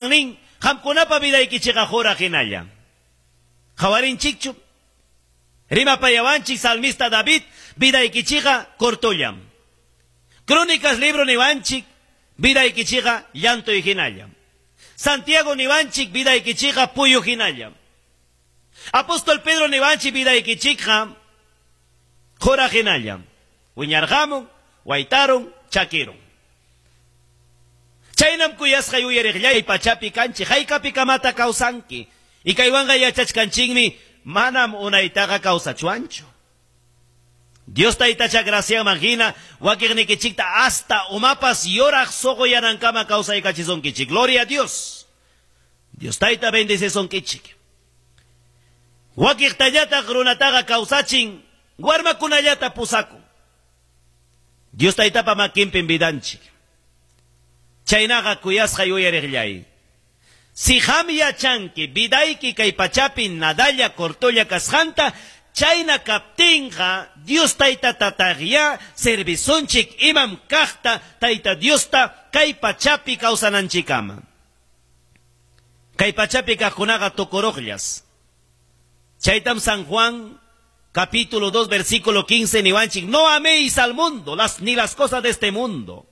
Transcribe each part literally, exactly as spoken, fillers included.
Nin, qamkunapa vidaykichikqa qura hinalla. Qawarinchikchu? Rimapayawanchik salmista David, vidaykichikqa cortollam. Crónicas libro niwanchik, vidaykichikqa llantuy hinallam. Santiago niwanchik, vidaykichikqa puyu hinallam. Apóstol Pedro niwanchik, vidaykichikqa qura hinallam. Wiñarqamun, waytarun, chakirun. Chaynam kuyasqay uyariqllay pachapi kanchik, haykapi kamata kawsanki. Y kaywanqa yachachkanchikmi, manam unaytaqa kawsachwanchu. Dios taytacha graciaman hina, wakiqnikichikta hasta umapas yoraq suquyanankama kawsaykachisunkichik. Gloria a Dios. Dios tayta bendecisunkichik. Wakiqtallataq runataqa kawsachin, warmakunallata pusakun. Dios taytapa makinpim vidanchik. Chaynaqa kuyasqay uyariqllay. Si qam yachanki vidayki kay pachapi nadalla cortolla kasqanta, chayna kaptinqa Dios tayta tataqya servisunchik imam kaqta tayta Diosta kay pachapi kawsananchikama. Kay pachapi kaqkunaqa tukuruqllas. Chaytam San Juan capítulo dos versículo quince niwanchik, no améis al mundo las, ni las cosas de este mundo.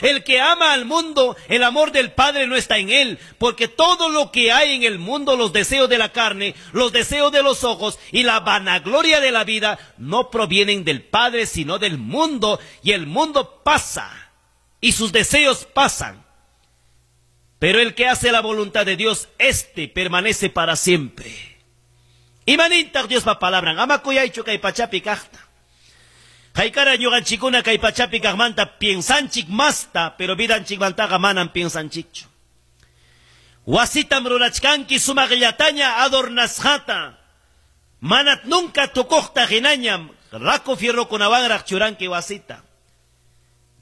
El que ama al mundo, el amor del Padre no está en él, porque todo lo que hay en el mundo, los deseos de la carne, los deseos de los ojos y la vanagloria de la vida, no provienen del Padre, sino del mundo, y el mundo pasa, y sus deseos pasan. Pero el que hace la voluntad de Dios, éste permanece para siempre. Imanintaq Diospa palabran, ama kuyaychu kay pachapi kaqta. Haykara ñuqanchikkuna kay pachapi kaqmanta piensanchik masta, pero vidanchikmantaqa manam piensanchikchu. Wasitam rurachkanki sumaqllataña adornasqata. Manat nunca tukuqta hinañam raku fierrokunawanraq churanki wasita.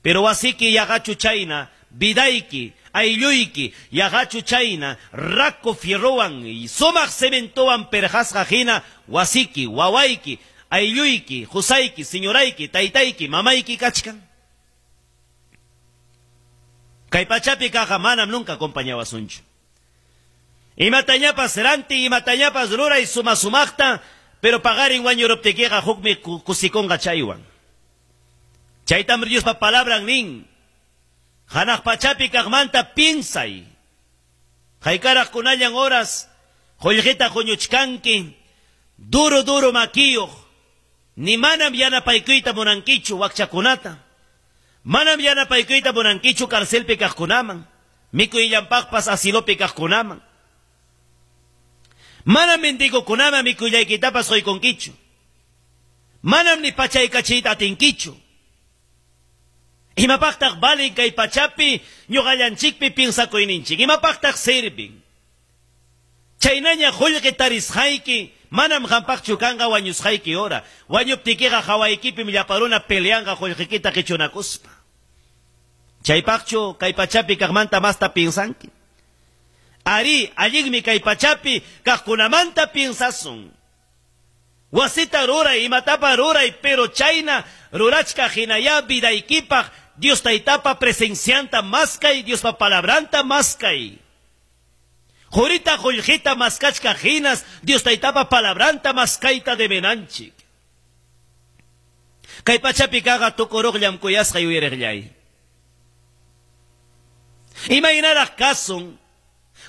Pero wasiki yaqachu chayna, vidayki, aylluyki, yaqachu chayna, raku fierrowan y sumaq cementowan perqasqa hina wasiki, wawayki, aylluyki, qusayki, señorayki, taytayki, mamayki kachkan. Kay pachapi kaqqa manam nunca acompañawasunchu. Imatañapas ranti, imatañapas ruray suma sumaqta, pero paqarin wañuruptikiqa hukmi kusikunqa chaywan. Chaytam Diospa palabran nin. Hanaq pachapi kaqmanta piensay. Haykaraq kunallan horas, qullqita huñuchkanki, duro duro makiyuq. Ni manam yanapaykuyta munankichu wakchakunata. Manam yanapaykuyta munankichu carcelpi kaqkunaman, mikuyllanpaqpas asilopi kaqkunaman. Manam mendigokunaman mikullaykitapas quykunkichu. Manam ni pachaykachiyta atinkichu. Imapaqtaq valin kay pachapi ñuqallanchikpi piensakuyninchik. Imapaqtaq sirvin. Chaynaña qullqi tarisqayki manam qampaqchu kanqa wañusqayki hora. Wañuptikiqa hawaykipim llaparuna peleanqa qullqikita qichunakuspa. Chaypaqchu kay pachapi kaqmanta masta piensanki. Ari, allinmi kay pachapi kaqkunamanta piensasun. Wasita ruray, imatapa ruray, pero chayna rurachka hinaya vidaykipaq Dios taytapa presencianta maskay, Diospa palabranta maskay. Jurita qullqita maskachka hinas, Dios taytapa palabranta maskayta debenanchik. Kay pachapi kaqa tukuruqllam kuyasqay uyariqllay. Imaynaraq kasun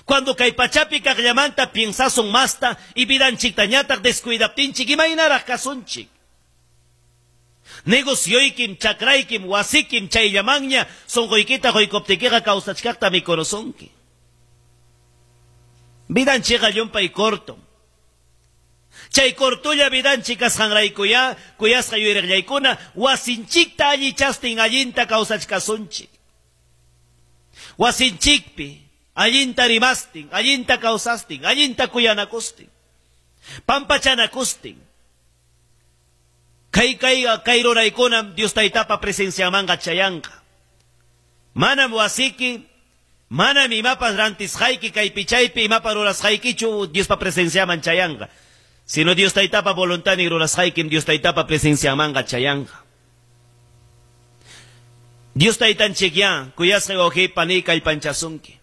cuando kay pachapi kaqllamanta piensasun masta y vidanchiktañataq descuidaptinchik, imaynaraq kasunchik. Negocioykim, chakraykim, wasikim, chayllamanña, sunquykita quykuptikiqa kawsachkaqta mikurusunki. Vidanchikqa llumpay corto. Chay cortulla vidanchik kasqanraykuya, kuyasqa yuyariqllaykuna, wasinchikta allichastin allinta kawsachkasunchik. Wasinchikpi allinta rimastin, allinta kawsastin, allinta kuyanakustin, pampachanakustin. Kay kay kay ruraykunam Dios taytapa presenciamanqa chayanqa. Manam wasiki, manam imapas rantisqayki kaypi chaypi imapas rurasqaykichu Diospa presenciaman chayanqa. Sino Dios taytapa voluntadnin rurasqaykim Dios taytapa presenciamanqa chayanqa. Dios taytanchikya kuyasqay wawqi pani kallpanchasunki.